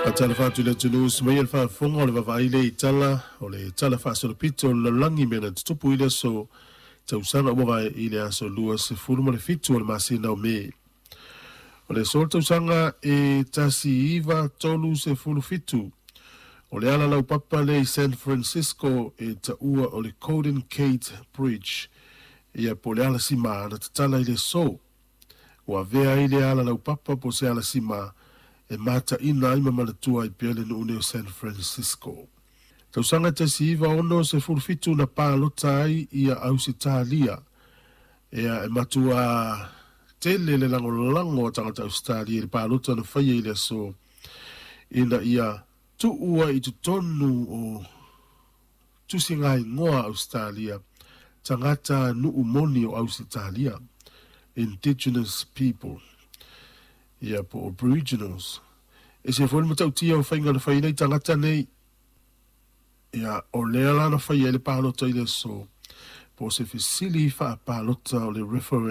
Faatalofa atu i le atunuu sumaia le faafofoga o le vaavaai lea i tala o le tala faasolopito o le lalolagi i mea na tutupu i le aso tausaga ua mavae i le aso 27 o le masina o Me. O le aso o le tausaga e 1937, o le ala laupapa lea i San Francisco e taua o le Golden Gate Bridge, ia po o le alasima na tatala i le aso. Ua avea ai lea ala laupapa po o se alasima e mataina ai ma manatua ai pea le nuu nei o San Francisco. Tausaga 1967 na palota ai ia Ausetalia. Ia e matua tele le lagolago a tagata Ausetalia i le palota na faia i le aso ina ia tuu ai i totonu o tusigaigoa a Ausetalia tagata nuu moni o Ausetalia, Indigenous people, ia po o Aboriginals. E ese foi le matautia o faiga na fai ai tagata nei. Ia, o lea la na faia ai le palota i le aso, po o se fesili faapalota o le referendum.